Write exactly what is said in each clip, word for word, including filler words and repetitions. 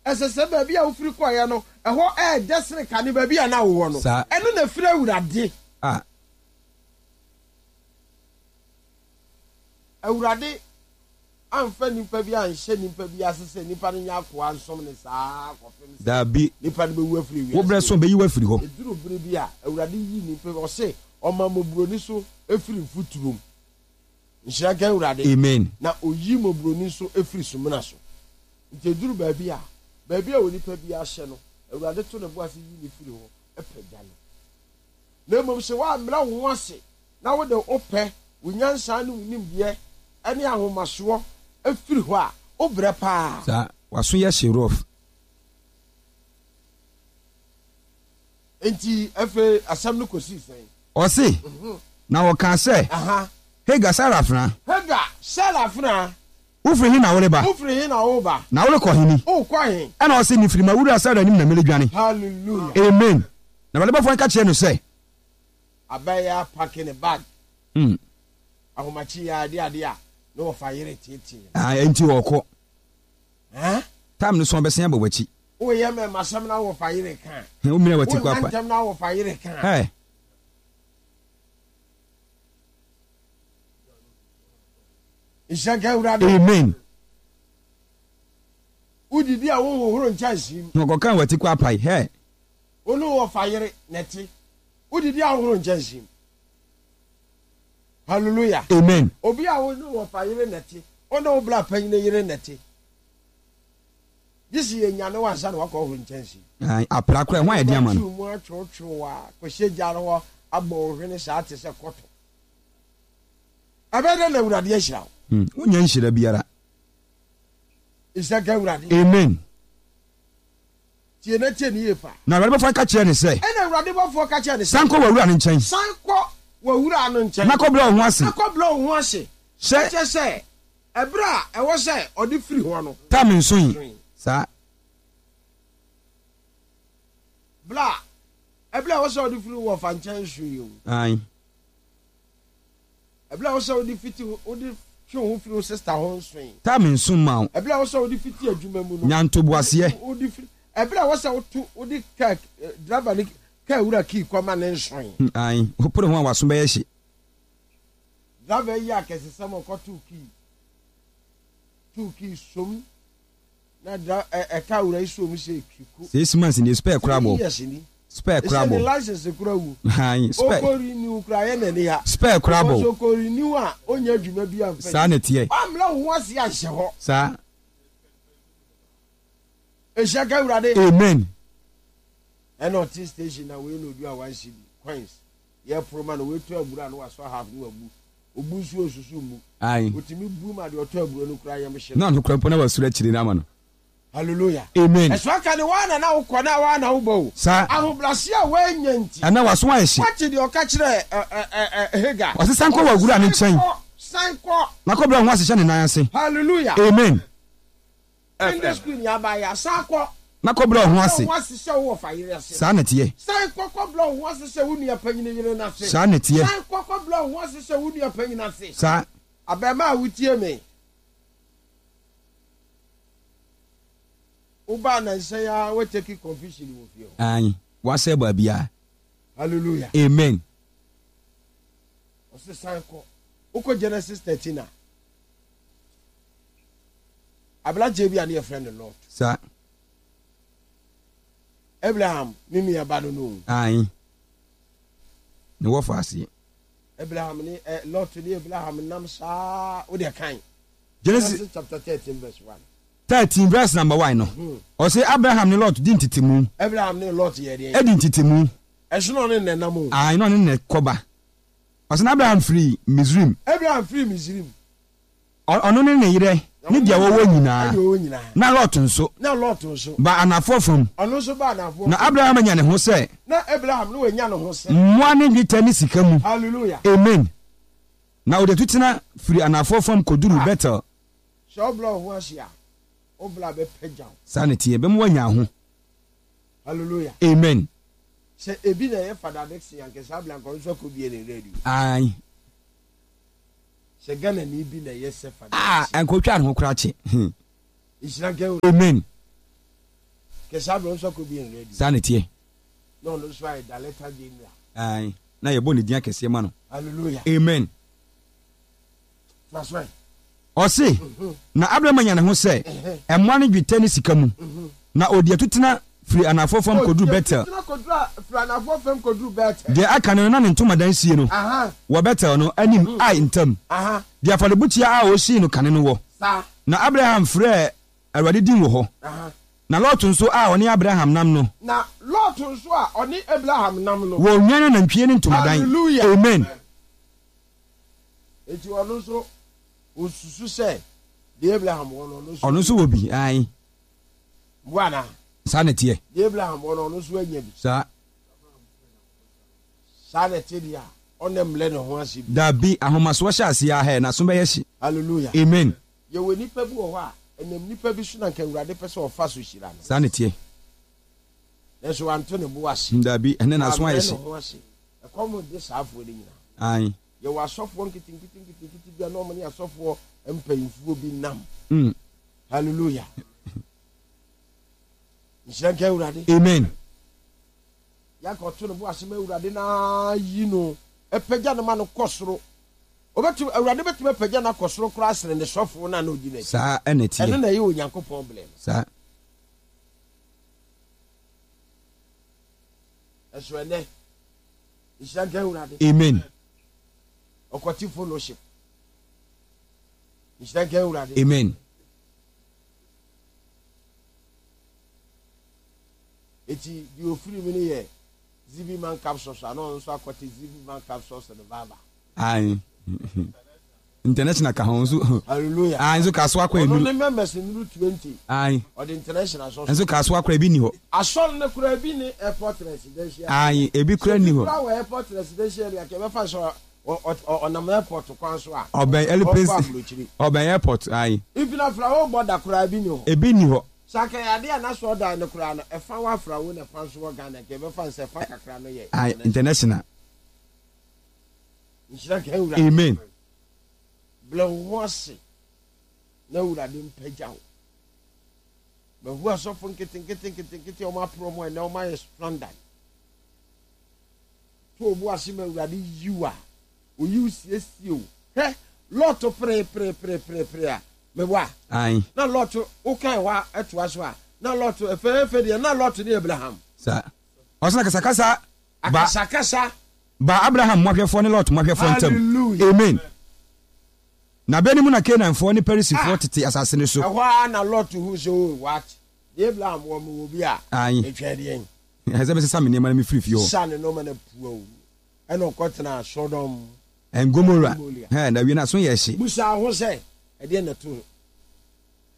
Ɛsɛ sɛ baabi a wofiri kɔeɛ no, ɛhɔ ɛɛdɛ sene kane baabi a na wowɔ no. Saa. Ɛno na ɛfiri Awurade. Ah. Awurade amfa nipa bi anhyɛ nipa bi ase sɛ nipa no nyɛ akoa nsom ne saa kɔpem sɛ Daabi. nipa no bɛwu afiri wiase. Wo berɛ so bɛyi wo afiri hɔ. Ɛduru bere bi a Awurade yi nipa bi, ɔse ɔma mmɔborɔni so efiri mfuturom. Nhyira nka Awurade. Amen. Na oyi mmɔborɔni nso efiri sumina so. Nti ɛduru baabi a, baabi a onipa bi ahyɛ no, Awurade to ne bo ase yi ne firi hɔ ɛpagya no. Na mmom sɛ woammrɛ wo ho ase na wode wo pɛ, wo nyansa ne wo nimdeɛ ne ahomasoɔ efiri hɔ a, wobrɛ paa. Saa, waso yɛ hye rough. Nti afei asɛm no kɔsii sɛn? Ɔse, na wɔkaa sɛ, Aha. Hagar, Sara afenaa. Hagar, Sara afenaa. Wofiri he na woreba? Wofiri he na woreba? Na worekɔ he ni? Wokɔ he? Ɛna ɔse, mefiri m'awura Sara anim na meredwane. Hallelujah. Amen. Na Awurade bɔfoɔ no ka kyerɛɛ no sɛ, Abɛyɛ apake ne bag. Mm. Ahomakye yɛ ade ade a na wɔfa yere tietie. Ah, enti ɔkɔ. Huh? Time no so ɔbɛsen abɔ w'akyi. Woyɛ mɛmasɛm na wɔfa yere ka. Wo mmira w'ati kɔ apa. Wonna ntɛm na wɔfa yere ka. Hey. Nhyira nka Awurade. Amen. Wodidi a wonhohoro nkyɛnsee mu. Na ɔkɔka w'ati kɔ apae. Hey. Wo ne wɔfa yere na ɛte. Wodidi a wohoro nkyɛnsee mu. Hallelujah. Amen. Obi a wo ne wɔfa yere na ɛte. Wo ne wo bra panyin yere na ɛte. Gye sɛ yɛnyane wo ansa na wakɔ horo nkyɛnsee. Ayi, apra koraa, ɛho ayɛ den ama no. Wobɛtwiw mu atwewtwew a kɔhyɛ gya no hɔ abɔ wo hwene saa te sɛ kɔtɔ. Ɛbɛyɛ dɛn na Awurade ahyira wo? Hmm, wonnya nhyira biara. Nhyira nka Awurade. Amen. Tie na tie ne yie paa. Na Awurade bɔfoɔ ka kyerɛɛ no sɛ. Ɛnna Awurade bɔfoɔ ka kyerɛɛ no sɛ. San kɔ w'awura no nkyɛn. San kɔ w'awura no nkyɛn. Na kɔbrɛ wo ho ase. Na kɔbrɛ wo ho ase. Sɛ. Kyerɛ sɛ, ɛberɛ a ɛwɔ sɛ ɔde firi hɔ no. Tam nsoe. Saa. Berɛ a, ɛberɛ a ɛwɔ sɛ ɔde firi wɔ fa nkyɛn nsoe o. Ae. Ɛberɛ a ɛwɔ sɛ wode fiti, wode twe wo ho firi wo sista ho nsoe. Tam nso mma wo. Ɛberɛ a ɛwɔ sɛ wode fiti adwuma mu no. Nya ntoboaseɛ. Wode firi, ɛberɛ a ɛwɔ sɛ woto, wode kaa, driver ne kaa wura kii kɔma ne nsoe. Ae, wopere ho a w'aso bɛyɛ hye. Driver yi akɛsesɛm ɔkɔtoo kii, too kii som na dra ɛ ɛka wura yi som sɛ kiko. Six months ni spare koraa bɔ. Three years ni. Spare koraa Ɛsɛ bɔ. ne license koraa wu. Ae, spare. Ɔkɔ renew koraa yɛ n'ani ha. Spare koraa bɔ. Because ɔkɔ renew a ɔnya adwuma bi amfa Saa na ɛteɛ. Wammrɛ wo ho ase anhyɛ hɔ. Saa. Nhyira nka Awurade. Amen. Ɛna ɔte station na wei na odu a one cedi coins yɛ poro ma no wei tɔ aburo a na wasɔ half na wabu obu nso osusu mmu. Ae. Otumi bu ma deɛ ɔtɔ aburo no kura yam hye no. Na ɔno kura mpo na wasuro akyire no ama no. Hallelujah. Amen. Ɛso aka ne waa na na wokɔ na waa na wobɔ o. Saa. Ahobrɛaseɛ a woannya nti. Ɛnɛ w'aso ayɛ hye. Woate deɛ ɔka kyerɛɛ ɛ ɛ ɛ ɛ Hagar. Ɔse san kɔ w'awura no nkyɛn. San kɔ, san kɔ. Na kɔbrɛ wo ho ase hyɛ ne nan ase. Hallelujah. Amen. Sunday school ni aba ya san kɔ. Na kɔbrɛ wo ho ase. Brɛ wo ho ase hyɛ wo wɔfa yere ase. Saa na ɛteɛ. San kɔ kɔbrɛ wo ho ase hyɛ wo nua panyin yere no ase. Saa na ɛteɛ. San kɔ kɔbrɛ wo ho ase hyɛ wo nua panyin ase. Saa. Abarimaa a wotie me. Wobaa nansa yi ara woatake confusion wɔ fie hɔ. Aane, woasɛe baabiara. Hallelujah. Amen. Ɔse san kɔ. Wokɔ Genesis thirteen a, aberanteɛ bi a ne yɛfrɛ no Lot. Saa. Abraham ne nuaba no no. Aane. Ne wɔfa aseɛ. Abraham ne eh, Lot ne Abraham nam saa wo deɛ kan. Genesis, Genesis chapter thirteen verse one. thirteen verse number one no. Ɔse Abraham ne Lot di ntetemu. Abraham ne Lot yɛ deɛn? Edi ntetemu. Ɛsono ɔne ne nam o. Aane, na ɔne ne kɔba. Ɔse na Abraham firi Misrim. Abraham firi Misrim. Ɔno ne ne yerɛ ne deɛ wɔwɔ nyinaa. Na Lot nso. Na Lot nso. Ba anafoɔ fam. Ɔno nso ba anafoɔ fam. Na Abraham anya ne ho sɛ. Na Abraham ne wanya ne ho sɛ. Mmoa ne dwetɛ ne sika mu. Hallelujah. Amen. Na ɔde atutena firi anafoɔ fam kɔduruu Betel. Sɛ wobrɛ wo ho ase a, wo bra bɛpagya wo. Saa na ɛteɛ, ɛbɛma woanya ho. Hallelujah. Amen. Sɛ ebi na ɛyɛ Fada Dickson anka saa bere anka ɔno nso akɔbie ne radio. Ae. Sɛ Ghanani bi na ɛyɛ sɛ Fada Ah, Dickson. anka ɔtwaa ne ho koraa kye. Nhyira nka Awurade. Amen. Kɛsɛ abirɛ nso akɔ bi yɛn radio. Saa na ɛteɛ. Na ɔno nso ayɛ director general. Ae, na yɛbɔ ne din akɛseɛ ma no. Hallelujah. Amen. That's right. Ɔse, na Abraham anya ne ho sɛ mmoa ne dwetɛ ne sika mu, na ɔdi atutena firi anafoɔ fam kɔduru Betel. Deɛ aka no na ne ntomadan sie no wɔ Betel no anim Ai ntam, deɛ afɔrebukyia a ɔsii no kane no wɔ. Na Abraham frɛɛ Awurade din wɔ hɔ. Na Lot nso a ɔne Abraham nam no. Na Lot nso a ɔne Abraham nam no. Wɔ nnwan anantwie ne ntomadan. Hallelujah. Amen. Enti ɔno nso osusu sɛ deɛ Abraham wɔ no, ɔno nso. Ɔno nso wɔ bi, ae. Mboa anaa? Saa na ɛteɛ. Deɛ Abraham wɔ no, ɔno nso anya bi. Saa. Saa na ɛte deɛ a, ɔnnɛ mmrɛ ne ho ase bi. Dabi, ahomasoɔ hyɛ aseɛ ara hɛ, n'aso bɛyɛ hye. Hallelujah. Amen. Yɛwɔ nnipa bi wɔ hɔ a, ɛnam nnipa bi so na anka Awurade pɛ sɛ ɔfa so hyira no. Saa na ɛteɛ. Nanso wanto ne bo ase. Dabi, ɛnnɛ n'aso ayɛ Wammrɛ hye. ne ho ase. Ɛkɔm de saa afoɔ no nyinaa. Ae. Yɛwɔ asɔfoɔ nketenkete nketenkete bi a na wɔn ne asɔfoɔ mpanyinfoɔ bi nam. Mm. Hallelujah. Nhyira nka Awurade. Amen. Yanka ɔto ne bo ase ma Awurade na yi no apagya no ma no kɔ soro. Obetumi, Awurade betumi apagya no akɔ soro koraa sene ne sɔfo no a na odi n'akyi. Saa ɛna ɛteɛ. Ɛno na ɛyɛ Onyankopɔn blɛ no. Saa. Ɛso ɛnɛ, nhyira nka Awurade. Amen. Ɔkɔte fellowship. Nhyira nka Awurade. Amen. Eti deɛ ofiri mu no yɛ Zibi Man Capsules a na ɔno nso akɔte Zibi Man Capsules revival. Ae. International ka ho nso. Hallelujah. Ae, nso ka so akɔ Ɔno enuru. ne members nnuru twenty. Ae. Ɔde international sɔ so. Nso ka so akora ebi ni hɔ. Asɔre no koraa ebi ne airport residential. Ae, ebi koraa ni Sɛ hɔ. obi koraa wɔ airport residential area kɛ ɛbɛfa sɛ ɔnam airport kwan so a. Ɔbɛn aeroplane. Ɔkɔ aburokyiri. Ɔbɛn airport, ae. Even Afrawo border koraa ebi ni hɔ. Ebi ni hɔ. Sɛ anka ɛyɛ adeɛ a n'asɔɔdan no koraa no ɛfa wɔ Afrawo na ɛfa nso wɔ Ghana nka yɛbɛfa no sɛ ɛfa kakra no yɛ Ae, international. Nhyira nka Awurade. Amen. Brɛ wo ho ase na Awurade mpagya wo. Mahu asɔfo nketenkete nketenkete a wɔn apere wɔn a ɛnɛ wɔn ayɛ stranded. To wo bo ase ma Awurade yi wo a, oyi wo siesie wo. Hwɛ, Lot pere pere pere pere pere a, meboa. Ae. Na Lot, wokan hɔ a ɛtoa so a, na Lot ɛfɛɛfɛ deɛ, na Lot ne Abraham. Saa. Ɔsɛ na kasakasa ba. Akasakasa. Ba Abraham mmoahwɛfoɔ ne Lot mmoahwɛfoɔ ntam. Hallelujah. Amen. Na bɛ no mu na Kanaanfoɔ ne Perisifoɔ Ah. tete asase no so. Ɛhɔ ara na Lot hu sɛ, oh, what? Deɛ Abraham wɔ, mewɔ bi a, Ae. metwɛn deɛn? Ɛsɛ sɛ mesesa me nneɛma na mefiri fie hɔ. Sesa ne nneɛma na pua o. Ɛna ɔkɔtenaa Sodom And Gomorrah. Gomorrah. Hɛ, na wie no aso yɛ hye. Busa ho sɛ, ɛdeɛn na ɛtoo no?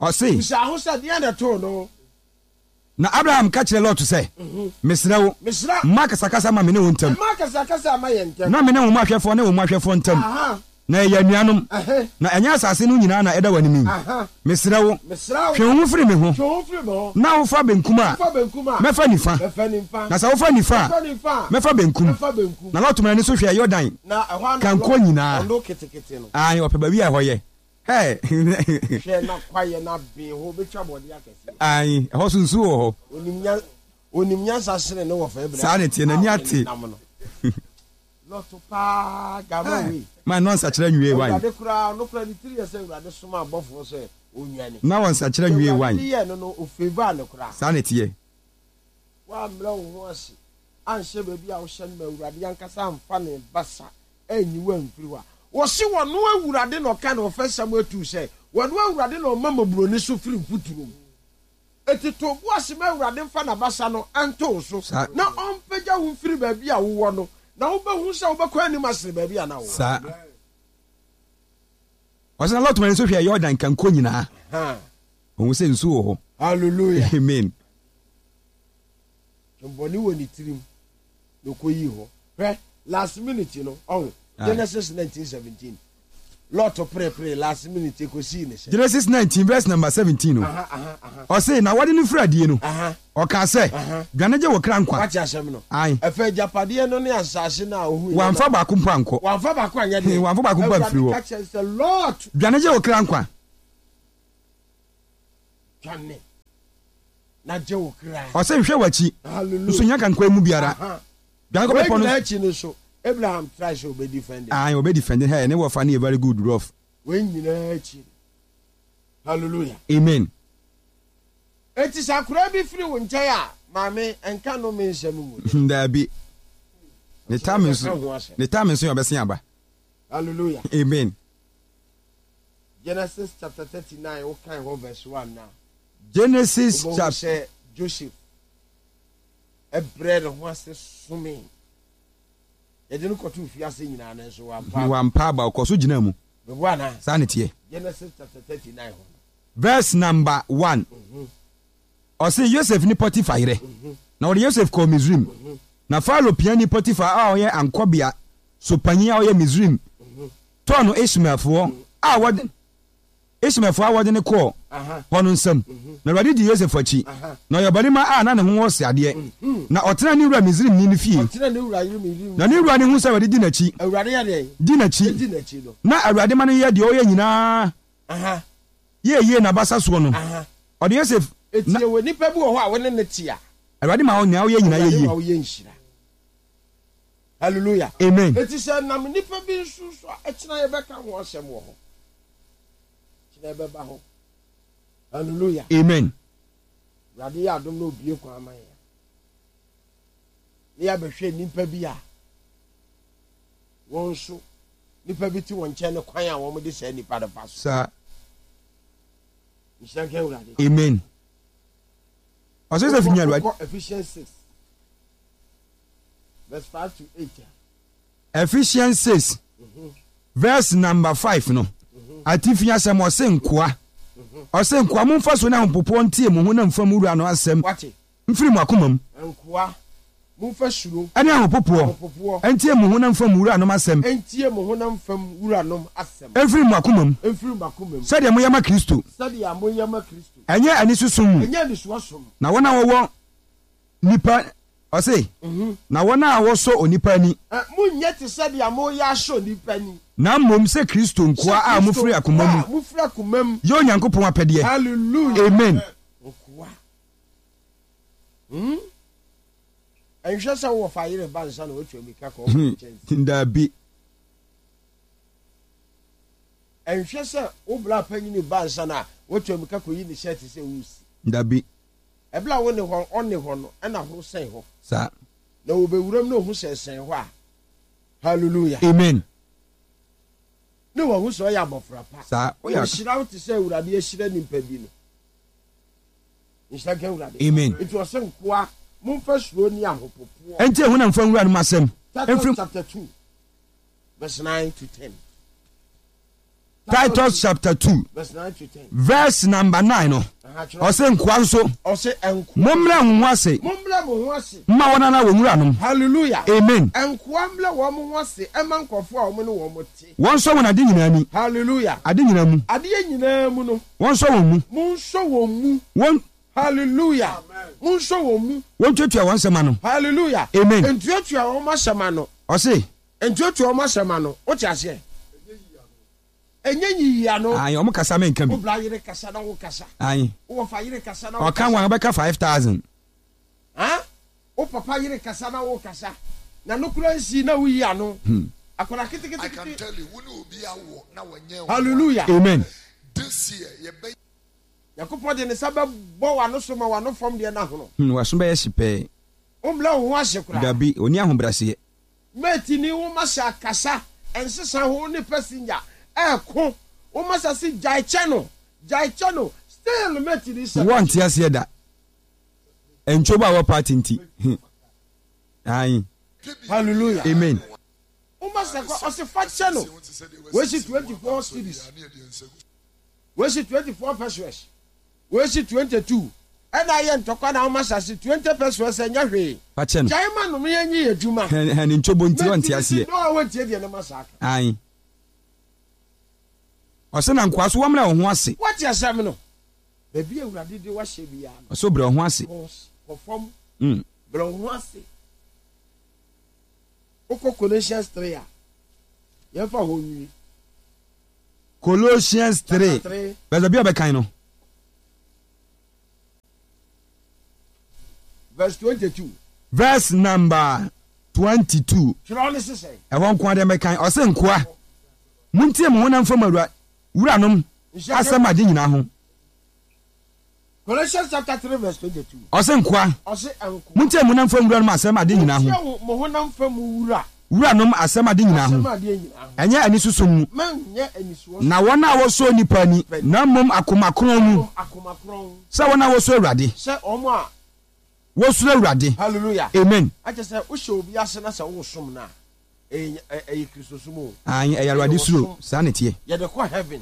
Ɔse. Busa ho sɛ, deɛn na ɛtoo no? Na Abraham ka kyerɛɛ Lot sɛ, Mesrɛ wo, Mesrɛ. mma akasakasa mma me ne wo ntam. Mma akasakasa mma yɛn ntam. Na me ne wo mmoahwɛfoɔ ne wo mmoahwɛfoɔ ntam. Aha. Na yɛyɛ anuanom. Ɛhɛ. Na ɛnyɛ asase no nyinaa na ɛda w'anim yi. Aha. Mesrɛ wo, Mesrɛ wo. twe wo ho firi me ho. Twe wo ho firi me ho. Na wofa benkum a, Wofa benkum a, mɛfa nifa. Mɛfa nifa. Na sɛ wofa nifa a, Wofa nifa a, mɛfa benkum. Mɛfa benkum. Na Lot maa n'ani so hwɛɛ Yordan Na ɛhɔ ara na kanko Lot, nyinaa. ɔno ketekete no. Aane, ɔpɛ baabi a ɛhɔ yɛ. Hɛ! Hwɛ, na kwaeɛ no aben hɔ, ɔbɛtwa bɔdeɛ akɛseɛ. Aane, ɛhɔ nso nsuo wɔ hɔ. Ɔnim nya, ɔnim nyansa sene ne wɔfa Abraham. Saa na ɛteɛ, n'ani a ate. ɔne no nam no. Lot paa, gama wei. Ma ɛno ansakyera nwie wan. Awurade koraa, ɔno koraa ne tiri yɛ sɛ Awurade somaa abɔfoɔ sɛ ɔnnwane. Na wɔnsakyera nwie Deɛ wan. Awurade de yɛɛ no no, ɔfavour no koraa. Saa na ɛteɛ. Woammrɛ wo ho ase anhyɛ baabi a wohyɛ no ma Awurade ankasa amfa ne basa anyi wo amfiri hɔ a, wɔse wɔno Awurade na ɔka no wɔ First Samuel two sɛ, wɔno Awurade na ɔma mmɔborɔni so firi mfuturo mu. Enti to wo bo ase ma Awurade mfa n'abasa no nto wo so Saa. na ɔmpagya wo mfiri baabi a wowɔ no, na wobɛhu sɛ wobɛkɔ anim asene baabi a na wowɔ. Saa. Ɔse na Lot ma n'ani so hwɛɛ Yordan kanko nyinaa. Ha. Ɔhu sɛ nsuo wɔ hɔ. Hallelujah. Amen. Bɔne wɔ ne tirim na ɔkɔyii hɔ. Hwɛ, last minute no, ɔho, Aye. Genesis nineteen seventeen. Lot perepere last minute ɛkɔsii ne sɛ. Genesis nineteen verse number seventeen no. Aha, aha, aha. Ɔse na wɔde no firi adie no, Aha. ɔkaa sɛ, Aha. Dwane gye wo kra nkwa. Wate asɛm no? Ae. Ɛfɛ agyapadeɛ no ne asase no a ɔhuiɛ no. Wamfa baako mpo ankɔ. Wamfa baako anyɛ deɛ. Wamfa baako mpo amfiri hɔ. Awurade ka kyerɛ sɛ, Lot. Dwane gye wo kra nkwa. Dwane. Na gye wo kra. Ɔse nhwɛ w'akyi. Hallelujah. Nso nya kankwan mu biara. Aha. Dwane kɔ Wei bepɔ no. nyinaa akyi no so, Abraham try sɛ ɔbɛ defend. Ayi ɔbɛ defend hɛ ne wɔfa ne yɛ very good rough. Wei nyinaa akyi no. Hallelujah. Amen. Eti sɛ akwadaa bi firi wo nkyɛn a, maame, nka no me nsɛm ngu. Daabi. Ne time nso Yɛbɛka ho asɛm. ne time nso yɛ ɔbɛsen aba. Hallelujah. Amen. Genesis chapter thirty-nine, wokan hɔ verse one na. Genesis Wobɛhu chapter. sɛ Joseph ɛbrɛ ne ho ase some. Yɛde no kɔto fiase nyinaa no nso wampa. Wampa aba, ɔkɔ so gyina mu. Bɛbu anaa? Saa ne teɛ. Genesis chapter thirty-nine hɔ no. Verse number one. Ɔse Yosef ne Potiphar yerɛ. Na wɔde Yosef kɔɔ Misrim. Na Farao piani Potiphar a ɔyɛ ankɔbea so panyin a ɔyɛ Misrim tɔɔ no Ishmaelfoɔ a wɔde Ishmaelfoɔ a wɔde no kɔɔ Aha. hɔ no nsam. Na Awurade dii Yosef akyi. Na ɔyɛ ɔbarima a na ne ho wɔ sradeɛ. Na ɔtenaa ne wura Misrimni no fie. Ɔtena ne wura yere Misrim. Na ne wura no hu sɛ Awurade di n'akyi. Awurade yɛ deɛn? Di n'akyi. Di n'akyi no. Na Awurade ma no yɛ deɛ ɔyɛ nyinaa Aha. yɛ yie n'abasa soɔ no. Aha. Ɔde Yosef Eti na wɔ nipa bi wɔ hɔ a wɔne ne te a. Awurade ma wo nea woyɛ nyinaa yɛ Awurade yie. ma woyɛ nhyira. Hallelujah. Amen. Eti sɛ nam nipa bi nso so a, ɛkyena yɛbɛka ho asɛm wɔ hɔ. Kyena yɛbɛba hɔ. Hallelujah. Amen. Awurade yɛ adom na obie kwan ama yɛn. Ne yɛabɛhwɛ nipa bi a wɔn nso nipa bi te wɔn nkyɛn ne kwan a wɔn de saa nipa no fa so. Saa. Nhyira nka Awurade. Amen. Ɔsɛ Yosef nya Awurade. Wokɔ Ephesians six verse five to eight. Ephesians six verse number five no. Atifi asɛm ɔse nkoa. Ɔse nkoa momfa so ne ahopopoɔ ntie mo ho na mfa mo wura no asɛm Wate. mfiri mo akoma mu. Nkoa momfa suro Ɛne ahopopoɔ ahopopoɔ ntie mo ho na mfa mo wuranom asɛm ntie mo honam fam wuranom asɛm mfiri mo akoma mu mfiri mo akoma mu sɛdeɛ moyɛ ma Kristo. Sɛdeɛ moyɛ ma Kristo. Ɛnyɛ anisosom mu. Ɛnyɛ anisoɔ som. Na wɔn a wɔwɔ nipa ɔse na wɔn a wɔsɔ onipa ani. Ɛ monyɛ te sɛdeɛ moyɛ asɔ nipa ani. Na mmom sɛ Kristo nkoa a mofiri akoma mu. Mofiri akoma mu. Yɛ Onyankopɔn apɛdeɛ. Hallelujah. Amen. Nkoa. Hmm? Ɛnhwɛ sɛ wowɔ fa yere ba nsa na watwa mirika kɔ ɔkɔ nkyɛn. Daabi. Ɛnhwɛ sɛ wo bra panyini ba nsa na watwa mirika kɔyi ne shirt sɛ wosi. Dabi. Ɛbla wo ne hɔ ɔne hɔ no ɛna horo sɛn hɔ. Saa. Na wɔbɛwuram na ohu sɛ sɛn hɔ a. Hallelujah. Amen. Ne wɔn ho sɛ ɔyɛ abɔfra pa. Saa. Woyɛ Ɔhyira wo te sɛ Awurade ahyira nipa bi no. Nhyira nka Awurade. Amen. Nti ɔsɛ nkoa momfa suro ne ahopopoɔ. Ɛnti ɛho na mfa nwuranom asɛm. Titus Mfiri chapter two verse nine to ten. Titus chapter two verse nine to ten. Verse number nine no. Aha, kyerɛ. Ɔsɛ nkoa nso Ɔsɛ nkoa. mommrɛ mo ho ase Mommrɛ mo ho ase. mma wɔn ara wɔn wuranom. Hallelujah. Amen. Nkoa mmrɛ wɔn ho ase ɛma nkurɔfoɔ a wɔn ne wɔn te. Wɔnsɔ wɔn ade nyinaa ni. Hallelujah. Ade nyinaa mu. Adeɛ nyinaa mu no. Wɔnsɔ wɔn mu. Monsɔ wɔn mu. Wɔn Hallelujah. Monsɔ wɔn mu. Wɔntuatua wɔn nsɛm ano. Hallelujah. Amen. Ntuatua wɔn asɛm ano. Ɔse. Ntuatua wɔn asɛm ano. Wote aseɛ? Ɛnyɛ nyiyi ano. Ayi ɔmo kasa mɛnka bi. Wo bra yere kasa na wo kasa. Ayi. Wo wɔfa yere kasa na wo Ɔka kasa. wɔn bɛka five thousand. Ha? Wo papa yere kasa na wo kasa. Na no kura nsi na wo yi ano. Hmm. Akwadaa I can ketekete. tell you, wo ne obi awo na wɔnyɛ wo. Hallelujah. Amen. This year, yɛbɛ Nyankopɔn de ne nsa bɛbɔ w'ano so ma w'ano fam deɛ n'ahono. Hmm, waso bɛyɛ hye pɛɛ. Wommrɛ wo ho ase koraa. Dabi, oni ahobrɛaseɛ. Mate ni wo masa kasa ɛnsesa ho ne passenger ɛɛko wo masa si gyae kyɛ no gyae kyɛ no still mate ni sɛ. Wɔnte aseɛ da. Ntwobo a wɔ party nti. Hmm. Ayi. Hallelujah. Amen. Wo masa kɔ ɔsi fa kyɛ no wesi twenty four cedis wesi twenty four pesewas wesi twenty two ɛna ayɛ ntɔkwa na wo masa si twenty pesewas ɛnyɛ hwee. Fa kyɛ no. Gyae ma nom yɛn nyi yɛ dwuma. Hɛn hɛn ntwobo nti wɔnte Mate ni si aseɛ. no a wɔntie deɛ ne masa aka. Ayi. Ɔsɛ na nkoa so wɔmmrɛ wo ho ase. Wɔte asɛm no. Baabi a Awurade de wahyɛ biara no. Ɔsɛ brɛ wo ho ase. Kɔ kɔ fam. Mm. Brɛ wo ho ase. Wokɔ Colossians three a, yɛmfa hɔ nwie. Colossians three. Chapter three. Bɛsɛ bi a ɔbɛkan no. Verse twenty-two. Verse number twenty-two. Twerɛ ne sesɛ. Ɛhɔ nko adeɛ mɛkan. Ɔse nkoa, montie mo honam fam awura wuranom asɛm ade nyinaa ho. Colossians chapter three verse twenty-two. Ɔse nkoa, Ɔse nkoa. Montie mo honam fam wuranom asɛm ade nyinaa ho. Montie mo honam fam wura. Wuranom asɛm ade nyinaa ho. Asɛm adeɛ nyinaa ho. Ɛnyɛ anisoso mu. Mɛnyɛ anisoɔ. Na wɔn a wɔsɔ nipa ani, na mmom akoma kronn mu. Akoma kronn. Sɛ wɔn a wɔsɔ Awurade. Sɛ wɔn a wɔsuro Awurade. Hallelujah. Amen. Akyɛ sɛ wohyɛ obi ase na sɛ wosom no a, ɛyɛ ɛyɛ Kristosom o. Ayi ɛyɛ Awurade suro, saa na ɛteɛ. Yɛde kɔ heaven.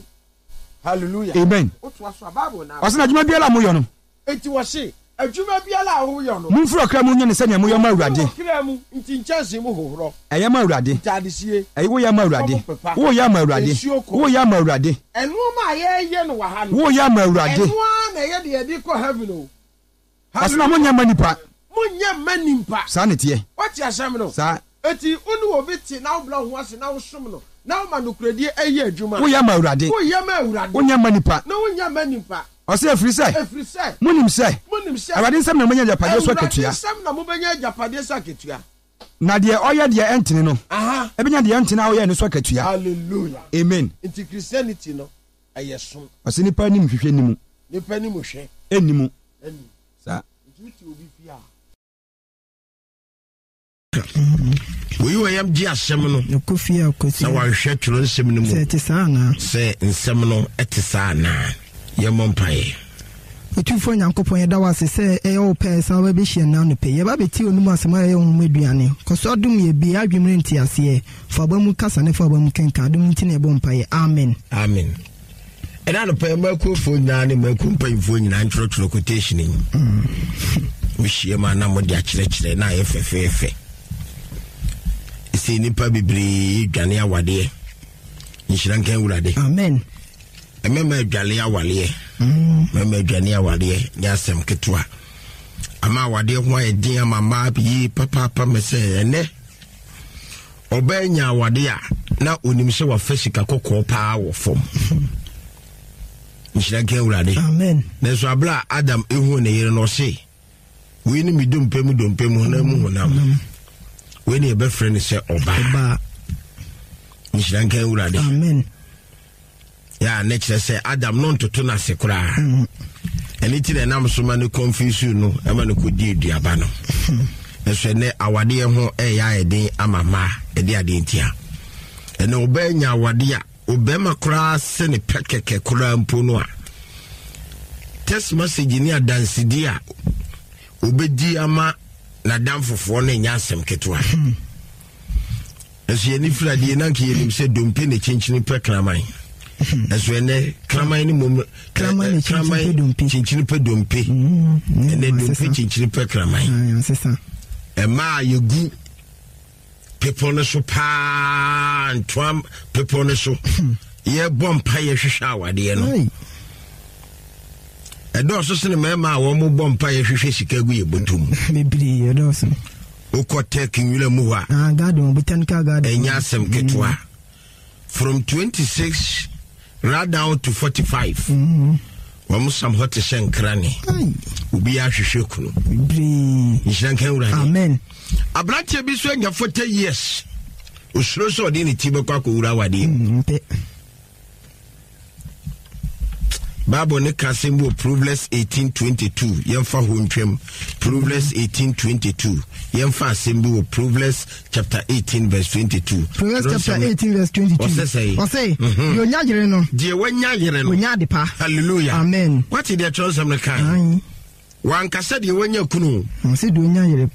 Hallelujah. Amen. Wotoa so a, Bible na. Ɔsɛ na adwuma biara a moyɔ no. Enti wɔse adwuma biara a woyɔ no. Momfiri ɔkra mu nyɛ no sɛnea moyɔ ma Awurade. Momfiri ɔkra mu, nti nkyɛnsee mu hohorɔ. Ɛyɛ ma Awurade. Ntaadesie. Ɛyɛ woyɛ ma Awurade. Fam pepa. Woyɛ ma Awurade. Nsuo kɔ. Woyɛ ma Awurade. Ɛnoɔma a yɛyɛ no wɔ ha no. Woyɛ ma Awurade. Ɛno ara na ɛyɛ deɛ yɛde kɔ heaven o. Ɔsɛ na monyɛ ma nipa. Monyɛ mma nipa. Saa na ɛteɛ. Woate asɛm no? Saa. Enti wo ne obi te na wobrɛ wo ho ase na wosom no na woma nokorɛdie yɛ adwuma. Woyɛ ma Awurade. Woyɛ ma Awurade. Wonyɛ ma nipa. Na wonyɛ ma nipa. Ɔsɛ ɛfiri sɛ. Ɛfiri sɛ. Monim sɛ. Monim sɛ. Awurade nsɛm na mobɛnya agyapadeɛ so akatua. Awurade nsɛm na mobɛnya agyapadeɛ so akatua. Na deɛ ɔyɛ deɛ ɛntene no. Aha. Ɛbɛnya deɛ ɛntene a ɔyɛ no so akatua. Hallelujah. Amen. Nti Christianity no ɛyɛ som. Ɔsɛ nipa anim hwehwɛ ni mu. Nipa anim hwɛ. Ɛnni mu. Ɛnni. Saa. Nti wote obi fie a. Oyi wɔ yam gye asɛm no na wanhwɛ twerɛ nsɛm no mu sɛ ɛte saa anaa. Sɛ nsɛm no ɛte saa anaa. Yɛmmɔ mpaeɛ. Otumfoɔ Nyankopɔn, yɛda wo ase sɛ ɛyɛ wo pɛ sɛ wobɛbɛhyia nnɛ anɔpa yi. Yɛba bɛtie onum asɛm a ɛyɛ honhom aduane. Kɔ so adom yɛ, bue yɛn adwene mu ne nteaseɛ. Fa aba mu kasa ne fa aba mu kenkan. Adom nti na yɛbɔ mpaeɛ. Amen. Amen. Ɛna anɔpa yi mmakuofoɔ nyinaa ne mmakuo mpanyinfoɔ nyinaa ntwerɛtwerɛ quotation yi. Wohyia mu a na mode akyerɛkyerɛ na ayɛ fɛfɛɛfɛ. Ɛsɛ nnipa bebree dwane awadeɛ. Nhyira nka Awurade. Amen. Mmarima adwale awadeɛ. Mmarima adwane awadeɛ nyɛ asɛm ketewa. Ama awadeɛ ho ayɛ den ama mmaa yie papaapa mɛ sɛ ɛnɛ ɔbaa nya awadeɛ a na onim sɛ wafa sika kɔkɔɔ paa wɔ fam. Nhyira nka Awurade. Amen. Nanso abere a Adam ehu ne yere no ɔse wei ne me dompe mu dompe mu honam mu honam. Wei ne yɛbɛfrɛ no sɛ ɔbaa. Nhyira nka Awurade. Amen. Ya ne kyerɛ sɛ Adam no ntoto n'ase koraa. Ɛne ti na ɛnam so ma no confuse no ɛma no kɔdi aduaba no. Ɛso ɛnɛ awadeɛ ho ɛyɛ ayɛ den ama mmaa ɛde adeɛ ntia. Ɛnɛ ɔbaa nya awadeɛ a ɔbɛrima koraa sɛ ne pɛ kɛkɛ koraa mpo no a text message ne adansedie a ɔbɛdi ama n'adamfofoɔ no ɛnyɛ asɛm ketewa. Ɛso yɛne firi adeɛ na nka yɛnim sɛ dompe ne kyinkyini pɛ kraman. Ɛso ɛnɛ kraman ne mmom Kraman ne kyinkyini pɛ dompe. Kyinkyini pɛ dompe. Ɛnɛ dompe kyinkyini pɛ kraman. Ɛmaa yɛgu pepɔ no so paa, ntoa pepɔ no so. Yɛbɔ mpa yɛhwehwɛ awadeɛ no. Ɛdɔɔso sene mmarima a wɔn bɔ mpa yɛhwehwɛ sika gu yɛ bɔtɔ mu. Bebree ɛdɔɔso. Wokɔ tech nwura mu hɔ a. Ah, garden, botanical garden. Ɛnyɛ asɛm ketewa. From twenty-six right down to forty-five. Wɔn sam hɔ te sɛ nkrane. Obi ahwehwɛ kunu. Bebree. Nhyira nka Awurade. Amen. Aberanteɛ bi nso anya forty years. Osuro sɛ ɔde ne ti bɛkɔ akɔwura awadeɛ mu. Bible ne ka asɛm bi wɔ Proverbs eighteen twenty-two. Yɛmfa hɔ ntwam. Proverbs eighteen twenty-two. Yɛmfa asɛm bi wɔ Proverbs chapter eighteen verse twenty-two. Proverbs chapter eighteen verse twenty-two. Ɔsɛ sɛ. Ɔsɛ. Deɛ onya yere no. Deɛ wanya yere no. Onya ade pa. Hallelujah. Amen. Wate deɛ kyerɛwsɛm no kan. Wankasa deɛ wanya kunu. Ɔsɛ deɛ onya yere.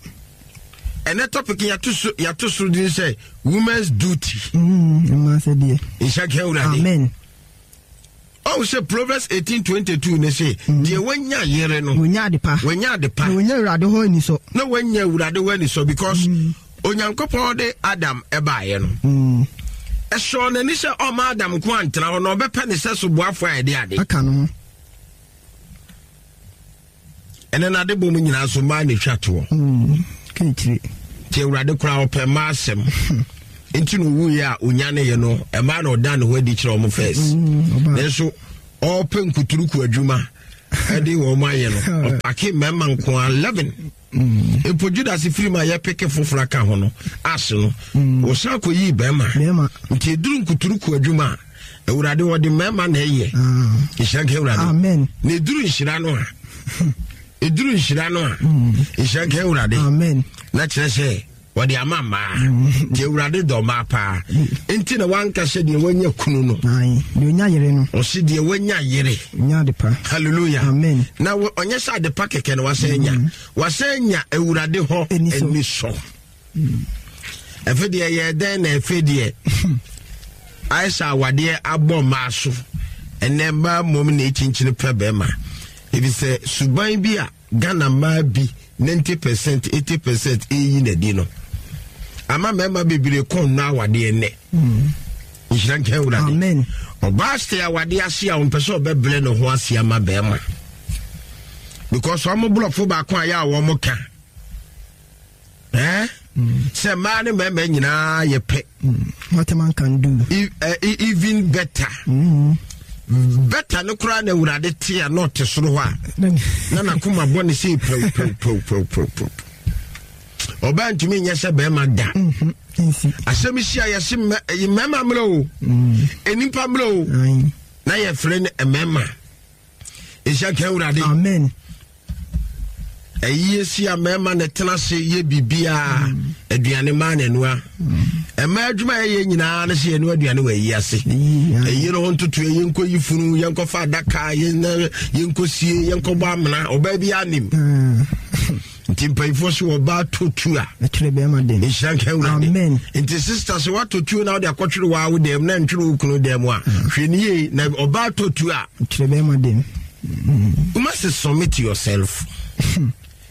Ɛnɛ topic yɛato so yɛato so din sɛ women's duty. Mmaa sɛ deɛ. Nhyɛ kɛ Awurade. Amen. Ɔwɔ sɛ Proverbs eighteen twenty-two ne se deɛ wanya yere no. Wanya ade pa. Wanya ade pa. Na wanya Awurade hɔ anisɔ. Na wanya Awurade hɔ anisɔ because Onyankopɔn de Adam ɛbaeɛ no. Ɛsɔ n'ani sɛ ɔma Adam nko antena hɔ na ɔbɛpɛ ne sɛ so boafo a ɛde ade. Aka no ho. Ɛnɛ n'ade bɔ mu nyinaa so mmaa na etwa toɔ. Kekyire. Nti Awurade koraa ɔpɛ mmaa asɛm. Nti na owuiɛ a onyaneeɛ no mmaa na ɔda ne ho adi kyerɛ wɔn first. Nanso ɔpɛ nkuturuku adwuma ɛde wɔn ayɛ no ɔpake mmarima nko eleven. Mpo Judas firi mu a yɛpeke foforɔ aka ho no ase no, wɔsan kɔyii bɛrima. Nti ɛduru nkuturuku adwuma a, Awurade wɔde mmarima na ɛyɛ. Nhyira nka Awurade. Na ɛduru nhyira no a, ɛduru nhyira no a, nhyira nka Awurade. Na kyerɛ sɛ wɔde ama mmaa. Nti Awurade dɔ mmaa paa. Nti na wanka sɛ deɛ wanya kunu no, ɔse deɛ wanya yere. Hallelujah. Na ɔnyɛ sɛ adepa kɛkɛ na wasɛ anya, wasɛ anya Awurade hɔ ani sɔ. Ɛfɛ deɛ yɛ dɛn na ɛfɛ deɛ ayɛ sɛ awadeɛ abɔ mmaa so. Ɛnɛ mmaa mmom na ɛkyinkyini pɛ bɛrima, efisɛ suban bi a Ghana mmaa bi ninety percent, eighty percent eyi n'adi no ama mmarima bebree kɔn nnɔ awadeɛ nnɛ. Nhyira nka Awurade. Ɔbaa sɛ awadeɛ ase a ɔmpɛ sɛ ɔbɛbrɛ ne ho ase ama bɛrima, because ɔmo borɔfo baako a yɛ a wɔn ka ɛɛ sɛ mmaa ne mmarima nyinaa yɛ pɛ. What a man can do. E, uh, even better. Mm. Better no koraa na Awurade te a na ɔte soro hɔ a na n'akoma bɔ ne sɛ pɛw pɛw pɛw pɛw pɛw pɛw. Ɔbaa ntumi nyɛ sɛ bɛrima da. Asɛm si a yɛse mmarima mmerɛ o, nnipa mmerɛ o, na yɛfrɛ no mmarima. Nhyɛ nka Awurade. Amen. Ɛyie si a mmarima na ɛtena ase yɛ biribiara, aduane maa n'anua. Mmaa adwuma a yɛyɛ nyinaa ne sɛ yɛnoa aduane wɔ ayi ase. Ɛyi no ho ntoto, yɛnkɔ yi funu, yɛnkɔfa adaka, yɛnkɔ sie, yɛnkɔbɔ amena. Ɔbaa bi anim. Nti mpanyinfoɔ so ɔbaa to tu a, nhyira nka Awurade. Nti sista sɛ woatɔ tuo na wode akɔtwere waa wo dɛm na ntwere wo kunu dɛm a, hwɛ ne yie na ɔbaa tɔ tuo a, you must submit yourself.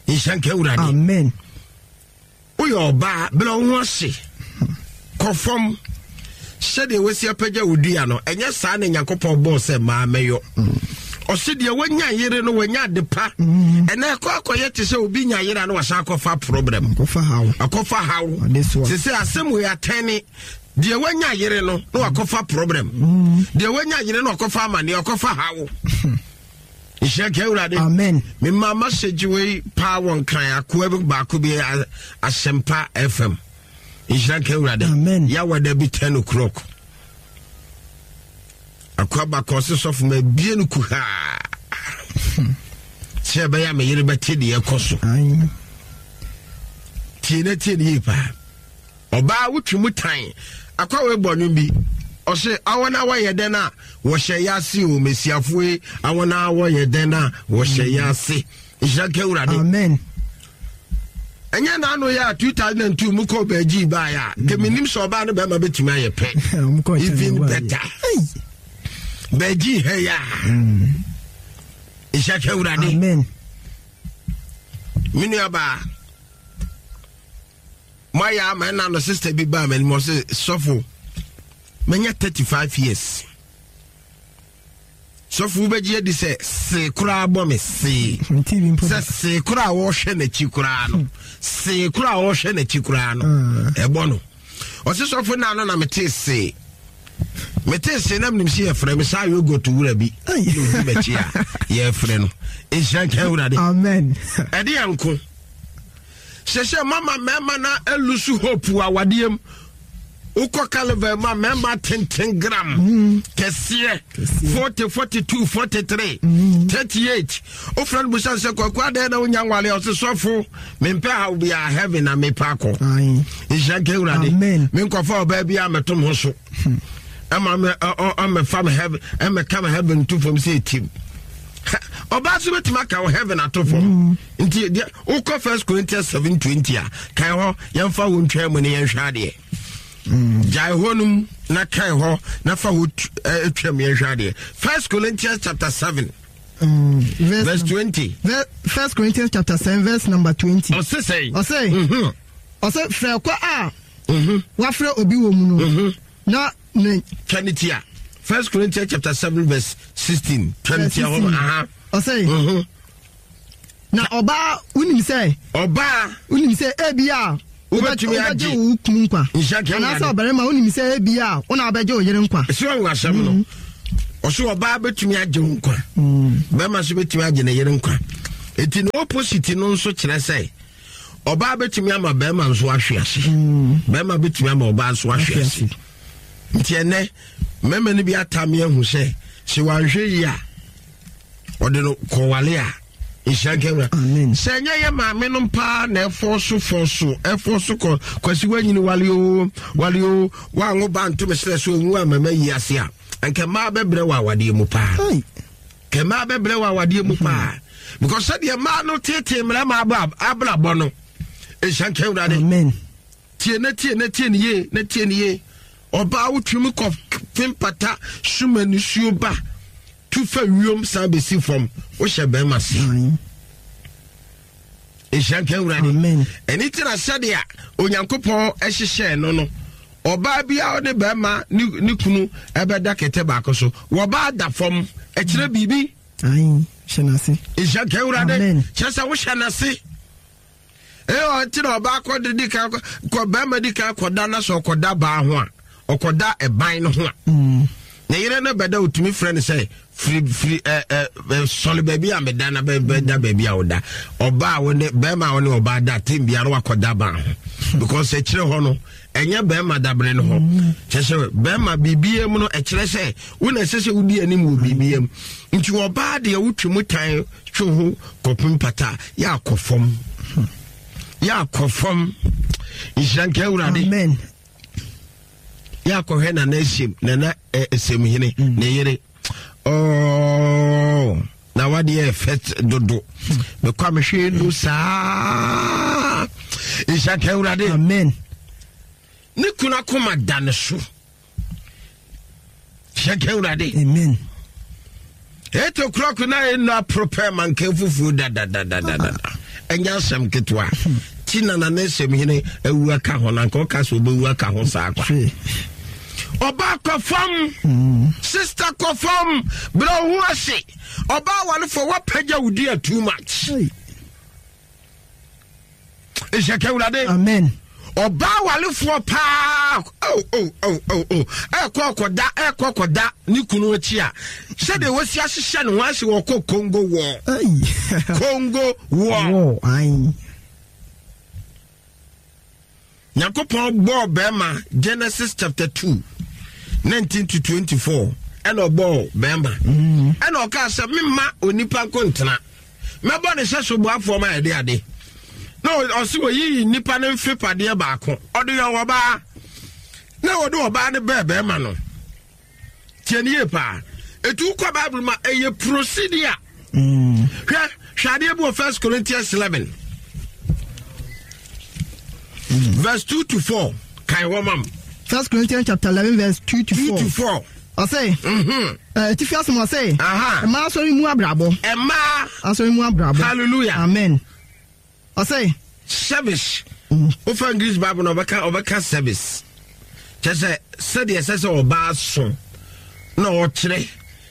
Nhyira nka Awurade. Amen. Woyɛ ɔbaa, brɛ wo ho ase, kɔ fam sɛdeɛ wasi apagya wo dua no. Ɛnyɛ saa na Nyankopɔn bɔɔ sɛ maa mɛyɔ. Ɔse deɛ wanya yere no wanya ade pa. Ɛnɛ ɛkɔ akɔyɛ te sɛ obi nya yere a na wasan akɔfa problem, akɔfa haw. Sɛ sɛ asɛm wei atɛne, deɛ wanya yere no na wakɔfa problem, deɛ wanya yere no wakɔfa amanneɛ, wakɔfa haw. Nhyira nka Awurade. Amen. Mema message wei paa wɔ Nkran akoa bi baako bi, Asɛmpa F M. Nhyira nka Awurade. Amen. Yɛawada bi ten o'clock, akoa baako ɔse, "Sɔfo, ma bie no kuhaa sɛ ɛbɛyɛ a me yere bɛte deɛ ɛkɔ so." Tie na tie ne yie paa. Ɔbaa wotwi mu tan akwa wei bɔ nnwom bi, ɔse awɔ na wɔyɛ dɛn a wɔhyɛ yɛ ase o, mesiafoɔ yi, awɔ na wɔyɛ dɛn a wɔhyɛ yɛ ase. Nhyira nka Awurade. Amen. Ɛnyɛ n'ano yɛ a two thousand and two mu kɔ bɛgyi baeɛ a kɛmenim sɛ ɔbaa no bɛrima bɛtumi ayɛ pɛ, even better. Bɛgyi ha yi a, nhyira nka Awurade. Amen. Me nuabaa, moayɛ ama ɛna no sister bi baa m'anim, ɔse, "Sɔfo, manya thirty-five years. Sɔfo, wobɛgye adi sɛ see koraa bɔ me see sɛ see koraa a wɔhwɛ n'akyi koraa no, see koraa a wɔhwɛ n'akyi koraa no ɛbɔ no." Ɔse, "Sɔfo, na no na metee see metee see na menim sɛ yɛfrɛ me saa yogurt wura bi na ɔdi m'akyi a yɛfrɛ no." Nhyira nka Awurade. Amen. Ɛde yɛ nko hyɛ sɛ mama mmarima na a lose hope wɔ awadeɛ mu. Wokɔ Carnival mu a, mmarima tenten gram kɛseɛ forty, forty-two, forty-three, thirty-eight, wofrɛ no busa sɛ, "Kwaku, adɛn na wonya nwale?" Ɔse, "Sɔfo, mempɛ haw biaa, heaven na mepɛ akɔ." Nhyira nka Awurade. Menkɔfa ɔbaa bi a mɛtom ho so ɛma ɔmɛfa me heaven, ɛmɛka me heaven to fam sɛ ɛtim. Ɔbaa so bɛtumi aka wo heaven ato fam. Nti deɛ wokɔ First Corinthians seven twenty a, kae hɔ, yɛmfa wo ntwa mu ne yɛnhwɛ adeɛ. Gyae hɔ nom na kae hɔ na fa hɔ twam, yɛnhwɛ adeɛ. First Corinthians chapter seven Mm, verse, verse twenty. First Corinthians chapter seven verse number twenty. Ɔse sɛn? Ɔse ɔse frɛ kɔ a wafrɛ obi wɔ mu no na ne. Twa ne tia. First Corinthians chapter seven verse sixteen. Twa ne tia hɔ. Aha. Ɔse na ɔbaa, wonim sɛ. Ɔbaa. Wonim sɛ ebi a wobɛtumi agye wo kunu nkwa, anaasɛ ɔbarima, wonim sɛ ebi a wo na wobɛgye wo yere nkwa. Ɛsɛ ɔhu asɛm no. Ɔso ɔbaa bɛtumi agye wo nkwa, bɛrima nso bɛtumi agye ne yere nkwa. Eti ne opposite no nso kyerɛ sɛ Ɔbaa bɛtumi ama bɛrima nso ahwe ase, bɛrima bɛtumi ama ɔbaa nso ahwe ase. Nti ɛnɛ mmarima no bi atame ahu sɛ sɛ wanhwɛ yi a ɔde no kɔwale a nhyira nka wura. Sɛ ɛnyɛ yɛ maame no paa na ɛfɔ so fɔ so ɛfɔ so kɔ kwasi wanyini wale o wale o wanwo ba ntome serɛ so onwu amama yi ase a, nka mmaa bɛbrɛ wɔ awadeɛ mu paa, nka mmaa bɛbrɛ wɔ awadeɛ mu paa, because sɛdeɛ mmaa no tete mmarima abrabɔ no, nhyira nka wura de. Tie na tie na tie ne yie na tie ne yie. Ɔbaa wotumi kɔ fempata suma nisuo ba tu fa wiem san bɛsi fam, wohyɛ bɛrima se. Nhyira nka Awurade. Ɛne ti na sɛdeɛ Onyankopɔn hyehyɛɛ no no ɔbaa bi a ɔne bɛrima ne kunu ɛbɛda kɛtɛ baako so, wɔbaa da fam, ɛkyerɛ biribi. Nhyira nka Awurade. Kyerɛ sɛ wohyɛ n'ase. Ɛyɛ ɔnti na ɔbaa kɔ de di kan kɔ bɛrima di kan kɔda na sɛ ɔkɔda baa ho a, ɔkɔda ɛban no ho a, ne yere no bɛda, otumi frɛ no sɛ firi firi ɛ ɛ sɔle baabi a meda na bɛda baabi a ɔda. Ɔbaa wo ne bɛrima a wo ne ɔbaa da tem biara wakɔda baa ho, because ɛkyerɛ hɔ no ɛnyɛ bɛrima dabere no hɔ. Kyerɛ sɛ bɛrima biribiara mu no, ɛkyerɛ sɛ wo na ɛsɛ sɛ wodi anim wɔ biribiara mu. Nti ɔbaa deɛ wotwe mu tan twe ho kɔpem pata yɛ akɔ fam, yɛ akɔ fam. Nhyira nka Awurade. Yɛ akɔhwɛ Nana Esiem, Nana Esemhene ne yere ɔɔ na wadeɛ ɛfɛ dodo mekɔ a mehwɛ nu saa. Nhyira nka Awurade. Amen. Ne kunu akoma da ne so. Hyɛ nka Awurade. Amen. Eight o'clock na ɛnu apropɛ manka fufuo dadadadadada, ɛnyɛ asɛm ketewa. Ti na nana Esɛm hene awu aka ho na nka ɔka sɛ ɔbɛwu aka ho saa kwa. Ɔbaa kɔ fam, sister kɔ fam, berɛ wo ho ase. Ɔbaa warefo, woapagya wo dua too much. Nhyɛ ka Awurade. Amen. Ɔbaa walefoɔ paa oh, oh, oh, oh, oh. Ɛkɔ ɔkɔda, ɛkɔ ɔkɔda ne kunu akyi a, sɛdeɛ wɔsi ahyehyɛ ne ho ase, wɔkɔ Congo wɔ Congo wɔ. Nyankopɔn bɔɔ bɛrima Genesis chapter two nineteen to twenty-four, ɛna ɔbɔɔ bɛrima, ɛna ɔkaa sɛ memma onipa nko ntena, mɛbɔ ne sɛ so boafoɔ ma yɛde ade na ɔse wɔyiyi nnipa no mfepadeɛ baako ɔde yɛ ɔbaa, na wɔde ɔbaa no bɛɛ bɛrima no. Tie ne yie paa. Ɛtu kɔ Bible ma ɛyɛ procedure. Hwɛ, hwɛ adeɛ bi wɔ First Corinthians eleven verse two to four, kan wɔ mam. First Corinthians chapter eleven verse two to four. Two to four. Ɔsɛ atifi asɛm ɔsɛ mmaa asɔre mu abrabɔ. Mmaa asɔre mu abrabɔ. Hallelujah. Amen. Ɔsɛ service. Wofa English Bible na ɔbɛka ɔbɛka service, kyɛ sɛ sɛdeɛ ɛsɛ sɛ ɔbaa so na ɔkyerɛ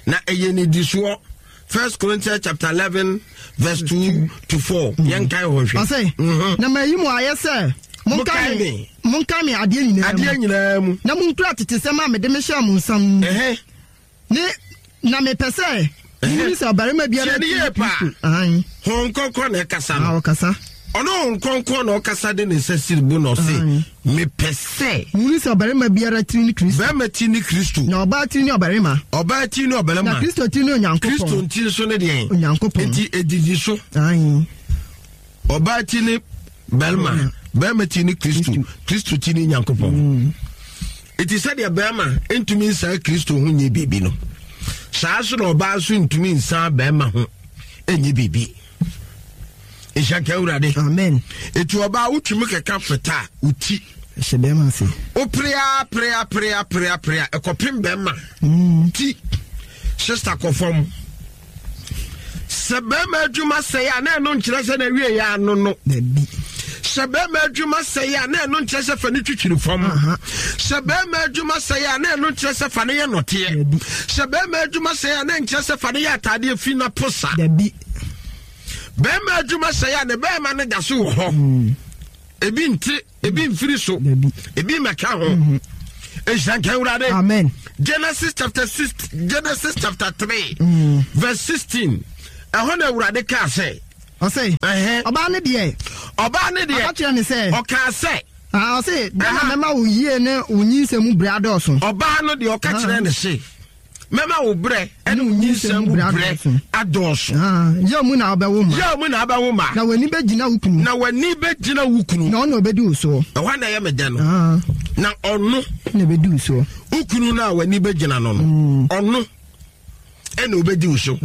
na ɛyɛ nidisoɔ. First Corinthians chapter eleven verse two to four, yɛn kan hɔ hwɛ. Ɔsɛ na ma yi mu ayɛ sɛ monkae me, monkae me adeɛ nyinaa mu, adeɛ nyinaa mu, na monkura tete sɛm a mede mehyɛɛ mo nsa mu ne na mepɛ sɛ mohunu sɛ ɔbarima biara ti ne Kristo. Honhom Kronkron na ɛkasa no. Ɔkasa. Ɔno Honhom Kronkron na ɔkasa de ne nsa siri bu na ɔse mepɛ sɛ mohunu sɛ ɔbarima biara tiri ne Kristo. Bɛrima ti ne Kristo. Na ɔbaa tiri ne ɔbarima. Ɔbaa ti ne ɔbarima. Na Kristo tiri ne Onyankopɔn. Kristo nti nso ne deɛn? Onyankopɔn. Nti edidi so. Ɔbaa ti ne bɛrima, bɛrima ti ne Kristo, Kristo ti ne Nyankopɔn. Eti sɛdeɛ bɛrima ntumi nsan Kristo ho nyɛ biribi no, saa so na ɔbaa nso ntumi nsan bɛrima ho nyɛ biribi. Nhyɛ nka Awurade. Amen. Eti ɔbaa wotumi kɛkɛ feta a woti hyɛ bɛrima ase. Woperea perea perea perea perea ɛkɔpem bɛrima ti. Sister kɔ fam. Sɛ bɛrima adwuma sɛe a, na ɛno nkyerɛ sɛ na awie yɛ ano no. Sɛ bɛrima adwuma sɛe a, na ɛno nkyerɛ sɛ fa ne twitwiri fam. Sɛ bɛrima adwuma sɛe a, na ɛno nkyerɛ sɛ fa ne yɛ nɔteɛ. Sɛ bɛrima adwuma sɛe a, na nkyerɛ sɛ fa ne yɛ ataadeɛ fi na posa. Bɛrima adwuma sɛe a, ne bɛrima no da so wɔ hɔ. Ebi nte, ebi mfiri so, ebi mmɛka ho. Nhyira nka Awurade. Amen. Genesis chapter six, Genesis chapter three verse sixteen, ɛhɔ na Awurade kaa sɛ Ɔsɛ ɔbaa no deɛ, Ɔbaa ne deɛ. Ɔka kyerɛ ne sɛ. Ɔkaa sɛ. Ah, ɔse dɛn na mɛma wo yie ne wo nyinsɛn mu berɛ adɔɔso. Ɔbaa no deɛ ɔka kyerɛ ne se, mɛma wo berɛ ne wo nyinsɛn mu berɛ adɔɔso. Ah, yaw mu na wobɛwo mma. Yaw mu na wobɛwo mma. Na w'ani bɛgyina wo kunu. Na w'ani bɛgyina wo kunu. Na ɔno na ɔbɛdi wo soɔ. Ɛhɔ na ɛyɛ me dɛ no. Ah. Na ɔno. Na ɛbɛdi wo soɔ. Wo kunu no a w'ani bɛgyina no no. Mm. Ɔno ɛna ɔbɛdi wo so.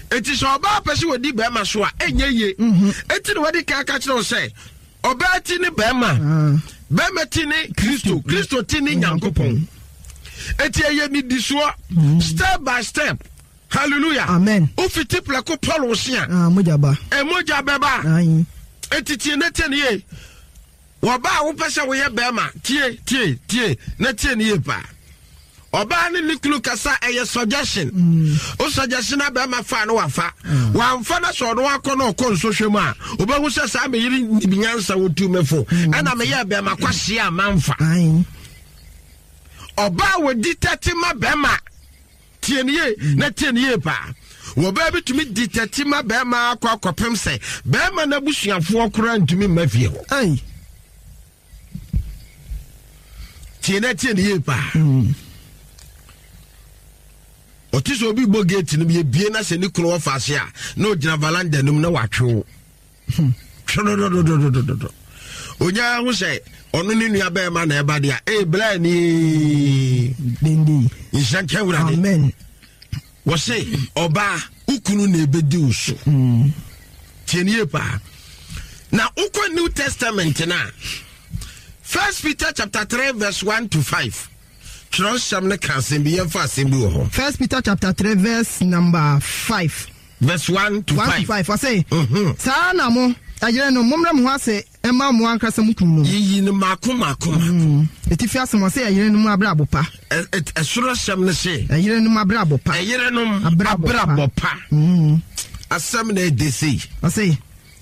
Eti sɛ ɔbaa pɛ sɛ wɔdi bɛrima so a, ɛnyɛ yie. Mm-hmm. Eti na wɔde ka ka kyerɛ wo sɛ, ɔbaa ti ne bɛrima, ah. bɛrima ti ne Kristo, Kristo ti ne Nyankopɔn. Eti ɛyɛ nidisoɔ, mm. step by step. Hallelujah. Amen. Wofiti prɛko Paul wo se a. Ah, mogya ba. Mogya bɛba. Eti tie ne tie ne yie. Wɔbaa a wopɛ sɛ woyɛ bɛrima, tie tie tie na tie ne yie paa. Ɔbaa ne ne kunu kasa ɛyɛ suggestion. Mm. O suggestion na bɛrima fa no wafa. Mm. Wamfa na sɛ ɔno akɔ na ɔkɔ nsɔhwɛ mu a, obɛhu sɛ saa meyere nyansa wotu me fo. Mm. Ɛna meyɛ bɛrima kwahyia a mamfa. Ɔbaa wɔdi tɛte ma bɛrima. Tie ne yie na tie ne yie paa. Wɔbaa bi tumi di tɛte ma bɛrima akɔ akɔpem sɛ bɛrima n'abusuafoɔ koraa ntumi mma fie hɔ. Tie na tie ne yie paa. Mm. Ɔte sɛ obi bɔ gate no yɛbie na sɛ ne kunu wɔfa ase a na ɔgyina valanda no mu na watwe wo. Twɛdɔdɔdɔdɔdɔdɔ. Onyaa ho sɛ ɔno ne nua bɛrima na ɛba deɛ a ee bla ni. Nhyira nka Awurade. Amen. Wɔse ɔbaa wo kunu na ebedi wo so. Tie ne yie paa. Na wokɔ New Testament na First Peter chapter three verse one to five. Twerɛsɛm ne ka asɛm bi, yɛmfa asɛm bi wɔ hɔ. First Peter chapter three verse number five. Verse one to one five. to five. Ɔse, mm-hmm. saa na mo ɛyere no mommrɛ mo ho ase ɛma mo ankasa mo kunu no. Yiyi no mako mako mako. Etifi asɛm ɔse ɛyere no mu abrabɔ pa. Ɛsoro asɛm no se. Ɛyere no mu abrabɔ pa. Ɛyere no abrabɔ pa. Asɛm na ɛde sei. Ɔse.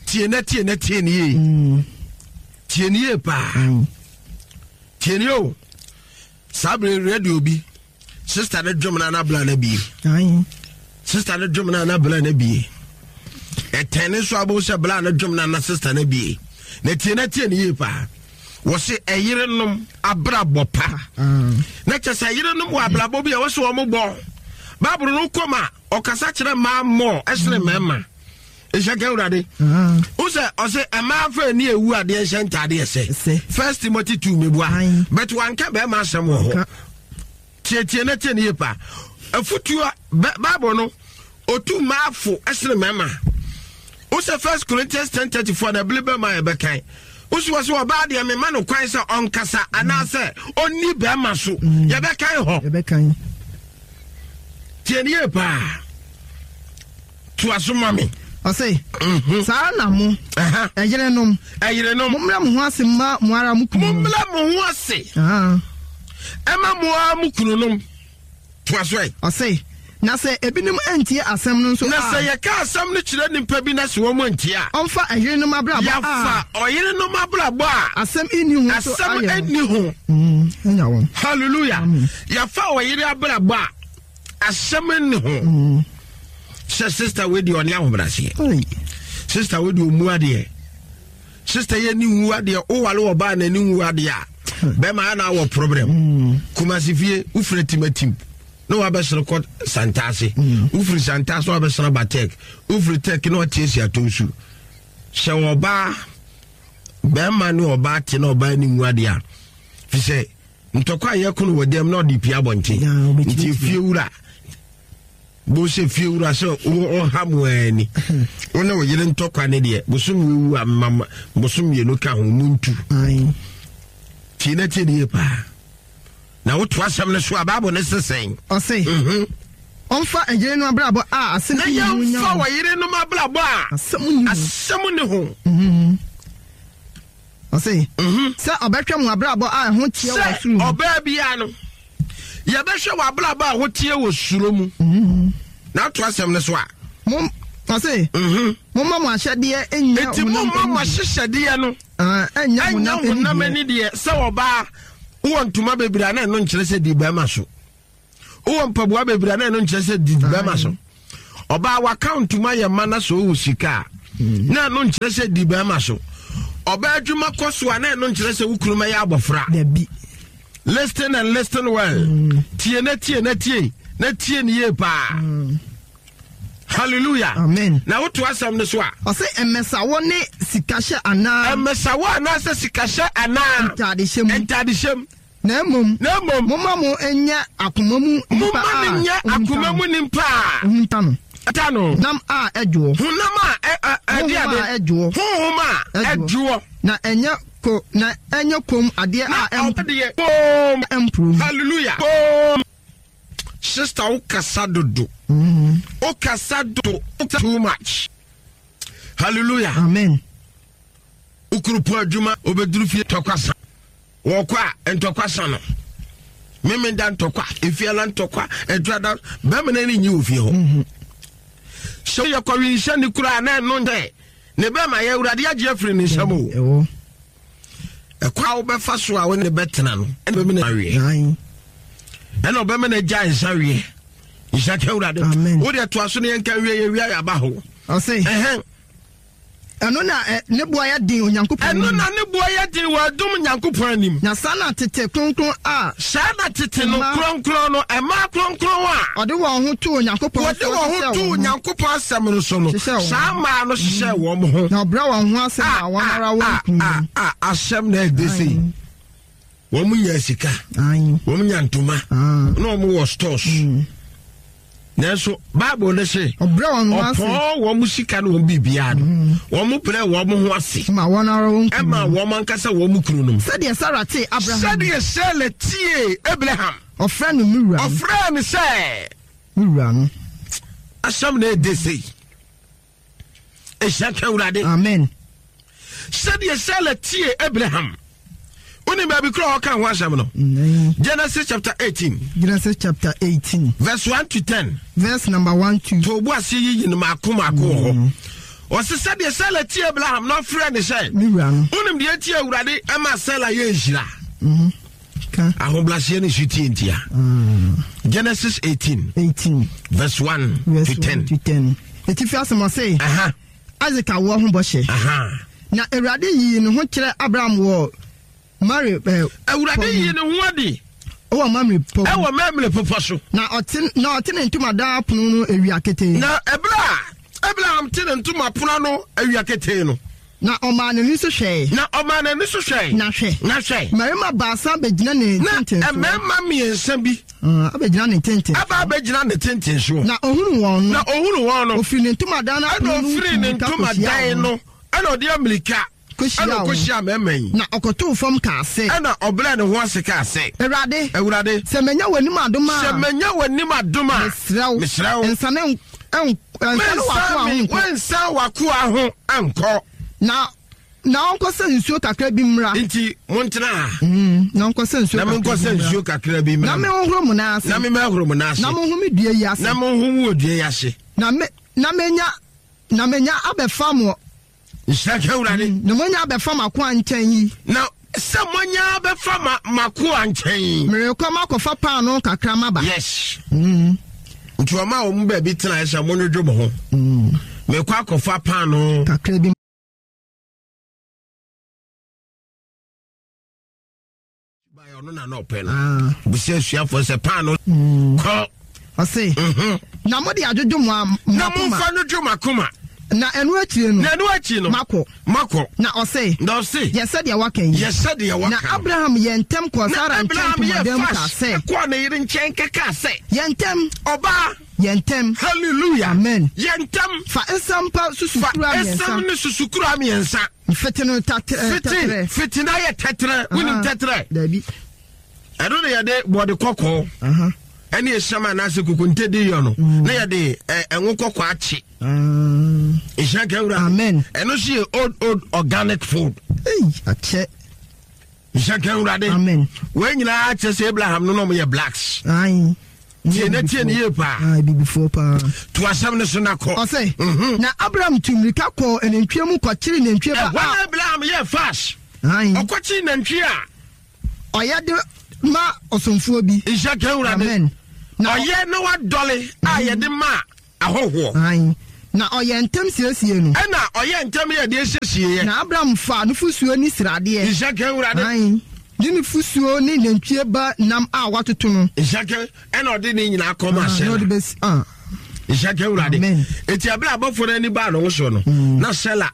Tie na tie na tie ne yie. Tie ne yie paa. Tie ne o. Saa bere radio bi sister ne dwom na anabla na bie. Sister ne dwom na anabla na bie. Ɛtɛn ne nso abo sɛ bla ne dwom na na sister na bie. Na tie na tie ne yie paa. Wɔse ɛyerenom abrabɔ pa. Na kyɛ sɛ ɛyerenom wɔ abrabɔ bi a wɔse wɔn bɔ. Bible no kɔm a ɔkasa kyerɛ mmaa mmɔ ɛsene mmarima. Nhyɛ ka Awurade. Wo sɛ ɔse mmaa fa ani ewu adeɛ nhyɛ ntaadeɛ sɛ. First Timothy two mebua. But wanka bɛrima asɛm wɔ hɔ. Tietie na tie ne yie paa. Afutuo Bible no otu mmaa fo ɛsene mmarima. Wo sɛ First Corinthians ten thirty four na ebile bɛrima yɛ bɛkan. Wo sɛ wɔsɛ ɔbaa deɛ mema no kwan sɛ ɔnkasa anaasɛ ɔnni bɛrima so. Yɛbɛkan hɔ. Yɛbɛkan. Tie ne yie paa. To aso ma me. Ɔse, saa na mo ɛyerenom ɛyerenom mommrɛ mo ho ase ma mo ara mo kunu. Mommrɛ mo ho ase. Ɛma mo ara mo kunu nom. To aso ɛ. Ɔse, na sɛ ebinom antie asɛm no nso a. Na sɛ yɛka asɛm no kyerɛ nnipa bi na sɛ wɔn antie a. Ɔmfa ɛyerenom abrabɔ a. Yɛfa ɔyerenom abrabɔ a. Asɛm nni ho so ayɛ. Asɛm nni ho. Ɛnya wɔn. Hallelujah. Yɛfa ɔyere abrabɔ a asɛm nni ho. Sɛ sister wei deɛ ɔne ahobrɛaseɛ. Sister wei deɛ ɔmu adeɛ. Sister yɛ ni wu adeɛ, wowale ɔbaa na ni wu adeɛ a bɛrima ana awɔ problem. Kumasi fie wofiri timatim na wabɛsere kɔ Santase. Wofiri Santase na wabɛsere ba Tech. Wofiri Tech na watie si atonsu. Sɛ ɔbaa bɛrima ne ɔbaa te na ɔbaa ni wu adeɛ a fi sɛ ntɔkwa a yɛko no wɔ dɛm na ɔde pia abɔnten. Nti fie wura bo sɛ fie wura sɛ ɔha mu ani wo ne wo yere ntɔkwa ne deɛ bosom wewu a mama bosom mmienu ka ho mu ntu. Tie na tie ne yie paa. Na woto asɛm no so a Bible ne sesɛn. Ɔse ɔmfa ɛyere no abrabɔ a asɛm na nni ho nya yɛmfa wɔn. ɔyere nom abrabɔ a asɛm nni ho. Ɔse sɛ ɔbɛhwɛ mo abrabɔ a ɛho teɛ wɔ soro mu. Sɛ ɔbaa biara no yɛbɛhwɛ wɔ abrabɔ a ɛho teɛ wɔ soro mu. Na ato asɛm no so a. Mom, ɔse momma mo ahyɛdeɛ nnya Enti momma mo ahyehyɛdeɛ no ɛnnya honam ani deɛ. Sɛ ɔbaa wowɔ ntoma bebree a na ɛno nkyerɛ sɛ di bɛrima so. Wowɔ mpaboa bebree a na ɛno nkyerɛ sɛ di bɛrima so. Ɔbaa waka ntoma yɛ ma na sɛ ɔwɔ sika a na ɛno nkyerɛ sɛ di bɛrima so. Ɔbaa adwuma kɔ so a na ɛno nkyerɛ sɛ wo kunu mɛyɛ abɔfra. Dabi. Listen and listen well. Mm. Tie na tie na tie na tie ne yie paa. Mm. Hallelujah. Amen. Na woto asɛm no so a. Ɔsɛ mmɛsawɔ ne sikahyɛ anaa. Mmɛsawɔ anaasɛ sikahyɛ anaa. Ntadehyɛ mu. Ntadehyɛ mu. Na mmom. Na mmom. Momma mo nyɛ akoma mu nipa a. Momma no nyɛ akoma mu nipa a. Ohunta no. Ta no. Nam a ɛdwoɔ. Honam a ɛde ade. Honhom a ɛdwoɔ. Honhom a ɛdwoɔ. Na ɛnyɛ ko na ɛnyɛ kom adeɛ a ɛm. Na kom. Ɛmpuro. Hallelujah. Kom. Sister, wo kasa dodo. Mm-hmm. Wo kasa dodo too much. Hallelujah. Amen. Ukurupo adwuma obeduru fie tɔkwasa. Wɔkɔ a ntɔkwasa no. Meme da ntɔkwa, efiala ntɔkwa, adwada, bɛrima no ani nyi wɔ fie hɔ. Mm-hmm. Sɛ yɛ kɔwe nhyɛ ne kura na ɛno ntɛ ne bɛrima yɛ awurade agye afiri ne nsam o. Ɛkɔ a wobɛfa so a wo ne bɛtena no ɛna bɛma no aweɛ. Ɛna ɔbɛma no agya nsa weɛ. Nhyɛ ka awurade. Wo deɛ toa so ne yɛnka wie yɛ wia yɛaba ho. Ɔse. Ɛhɛn. Ɛno na ne boa yɛ den Onyankopɔn anim. Ɛno na ne boa yɛ den wɔ adom Nyankopɔn anim. Na saa na tete kronkron a. Saa na tete no kronkron no ɛmaa kronkron a. Ɔde wɔn ho too Onyankopɔn so. Wɔde wɔn ho too Onyankopɔn asɛm no so no. Saa mmaa no hyehyɛ wɔn ho. Na ɔbrɛ wɔn ho ase ma wɔn ara wɔn kunu. A a asɛm na ɛde sei. Wɔn nya sika. Wɔn nya ntoma. Na wɔn wɔ stores. Nanso Bible ne se ɔpɔn wɔn sika ne wɔn biribiara no wɔn brɛ wɔn ho ase ma wɔn ara wɔn kunu ɛma wɔn ankasa wɔn kunu nom. Sɛdeɛ Sara tee Abraham. Sɛdeɛ Sara tie Abraham. Ɔfrɛ no me wura. Ɔfrɛ no sɛ. Me wura no. Asɛm na ɛde sei. Ehyia ka Awurade. Amen. Sɛdeɛ Sara tie Abraham. Oni baabi kura ɔka ho asɛm no. Genesis chapter eighteen. Genesis chapter eighteen. Verse one to ten. Verse number one to. To obu ase yiyi no maako maako wɔ hɔ. Ɔsi sɛdeɛ Sara tie Abraham na ɔfrɛ ne sɛ. Ne wura no. Wonim deɛ tie Awurade ɛma Sara yɛ nhyira. Ahobrɛaseɛ ne su tie ntia. Genesis eighteen. Eighteen. Verse one Verse to ten. One to ten. Etifi asɛm ɔse. Isaac awoɔ ho bɔhyɛ. Na Awurade yii ne ho kyerɛ Abraham wɔ Mare eh, Awurade yii ne ho adi. Ɛwɔ Mamre pɔ. Ɛwɔ Mamre pɔpɔ so. Na ɔte na ɔte ne ntomadan apono no awia ketee. Na ɛberɛ a Abraham te ne ntoma pono ano awia ketee no. Na ɔmaa n'ani so hwɛe. Na ɔmaa n'ani so hwɛe. Na hwɛ. Na hwɛ. Mmarima baasa bɛgyina ne ntentensoɔ. Na mmarima mmiɛnsa bi. Uh, abɛgyina ne ntentensoɔ. Aba abɛgyina ne ntentensoɔ. Na ɔhunu wɔn no. Na ɔhunu wɔn no. Ɔfiri ne ntomadan no apono no Ɛna ɔfiri ne ntomadan no. Ɛna ɔde amirika. Kɔhyia wɔn. Mmarima yi. Na ɔkɔtoo fam kaa sɛ. Ɛna ɔbrɛɛ ne ho ase kaa sɛ. Awurade. Awurade. Sɛ manya w'anim adom a. Sɛ manya w'anim adom a. Mesrɛ wo. Mesrɛ wo. Nsane nsane w'akoa ho nkɔ. Wensan w'akoa ho nkɔ. Na na ɔnkɔsɛ nsuo kakra bi mmra. Nti montena ha. Mm, na ɔnkɔsɛ nsuo na menkɔsɛ nsuo kakra bi mmra. Na menhohoro mo nan ase. Na memmɛhoro mo nan ase. Na monhome dua yi ase. Na monhome wɔ dua yi ase. Na me na menya na menya abɛfa mo. Nhyira ka Awurade. Na monya abɛfa m'akoa nkyɛn yi. Na sɛ monya abɛfa ma m'akoa nkyɛn yi. Merekɔ makɔfa paanoo kakra maba. Yes. Mm. Nti ɔma wɔn baabi tena sɛ monwodwo mo ho. Mm. Mekɔ akɔfa paanoo. Kakra bi. Ɔno na na ɔpɛ no. Bisa asuafoɔ sɛ paanoo. Kɔ. Ɔse. Na mode adwodwo mo akoma. Na momfa no dwo mo akoma. Na ɛno akyire no. Na ɛno akyi no. Makɔ. Makɔ. Na ɔse. Na ɔse. Yɛ sɛdeɛ waka yi. Yɛ sɛdeɛ waka. Na Abraham yɛ ntɛm kɔɔ Sara nkyɛn ntomadan mu kaa sɛ. Kɔɔ ne yere nkyɛn kɛkaa sɛ. Yɛ ntɛm. Ɔbaa. Yɛ ntɛm. Hallelujah. Amen. Yɛ ntɛm. Fa nsɛm pa susukura mmiɛnsa. Fa nsɛm ne susukura mmiɛnsa. Fete no tɛtrɛ. Fete fete na yɛ tɛtrɛ. Wonim tɛtrɛ. Dabi. Ɛno na yɛde bɔde kɔkɔɔ. Ɛne esiam anaasɛ kokonte de yɔ no. Na yɛde ɛnwo kɔkɔɔ akye. Nhyira ka Awurade. Amen. Ɛno nso yɛ old old organic food. Akyɛ. Nhyira ka Awurade. Amen. Wɔn nyinaa kyerɛ sɛ Abraham no na wɔn yɛ blacks. Ayi. Tie na tie ne yie paa. Abibifoɔ paa. To asɛm no so na kɔ. Ɔsɛ. Na Abraham tu mmirika kɔɔ nantwie mu kɔkyere nantwie ba a. Ɛhɔ na Abraham yɛ fast. Ɔkɔkyere nantwie a. Ɔyɛ de ma ɔsomfoɔ bi. Nhyira ka Awurade. Amen. Ɔyɛ na wadɔle a yɛde ma ahɔhoɔ. Ayi. Na ɔyɛɛ ntɛm siesiee no. Ɛnna ɔyɛɛ ntɛm yɛɛ deɛ ɛsiesieeɛ. Na Abram faa nufosuo ne sradeɛ. Nhyɛkɛ, Awurade. Aane, ne nufosuo ne nantwie ba nam a wɔatoto no. Nhyɛkɛ, ɛnna ɔde ne nyinaa kɔmaa Ah, Sela. na ɔde bɛsi, ah. Nhyɛkɛ, Awurade. Amen. Enti ɛberɛ a abɔfoɔ no ani baa ne ho soɔ no, Mm. na Sela